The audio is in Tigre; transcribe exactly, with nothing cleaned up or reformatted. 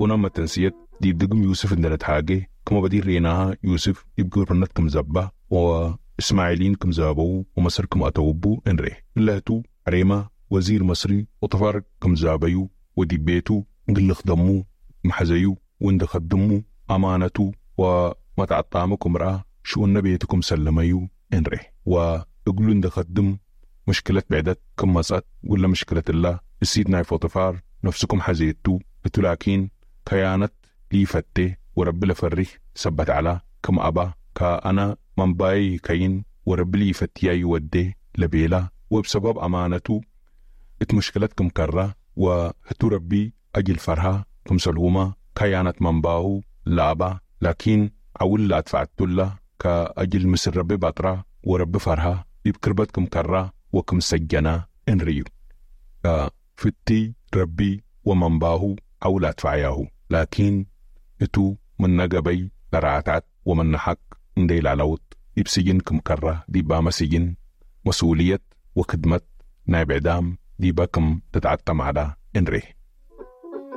ቡነ መተንስየት ዲብ ድግም ዩስፍ እንዴ ነትሃጌ፣ ክመ በዲር ሬናሃ ዩስፍ ዲብ ግብርነት ክም ዘባ ወእስማዒሊን ክም ዘሀበዉ ወመስር ክም አተው እቡ እንሬ። እለ ህቱ ዐሬማ ወዚር መስሪ ፖጥፋር ክም ዛበዩ ወዲብ ቤቱ እግል ልክደሙ ክም ሐዘዩ ወእንዴ ከድሙ አማነቱ ወመትዐጣሙ ክም ረአ ሽኡነ ቤቱ ክም ሰለመዩ እንሬ። ወእግሉ እንዴ ከድም ምሽክለት ብዕደት ክም መጽአት ወእለ ምሽክለት እላ እሲት ናይ ፖጥፋር ነፍሱ ክም ሐዜቱ ህቱ ላኪን ከያነት ሊፈቴ ወረቢ ለፈሪህ ሰበት ዐላ፣ ክም አባ ከአነ መንባዬ ይከይን ወረቢ ሊፈትያዩ ወዴ ለቤላ፣ ወእብ ሰበብ አማነቱ እት ምሽክለት ክም ከራ፣ ወህቱ ረቢ አጅል ፈርሃ ክምሰልሁመ ከያነት መንባሁ ለአባ፣ ላኪን ዐውል ለአድፈዐቱ እላ ከአጅል ምስል ረቢ ባጥራ ወረቢ ፈርሃ ዲብ ክርበት ክም ከራ ወክም ሰጀና እንርእዩ። ከፍቲ ረቢ ወመንባሁ ዐውል አድፈዐያሁ፣ ላኪን እቱ ምነ ገበይ ለረአትዐት ወምነ ሐቅ እንዴ ኢለአለውጥ ዲብ ስጅን ክም ከራ፣ ዲባመ ስጅን መስኡልየት ወክድመት ናይ ብዕዳም ዲበ ክም ትትዐጠም ዐላ እንሬ።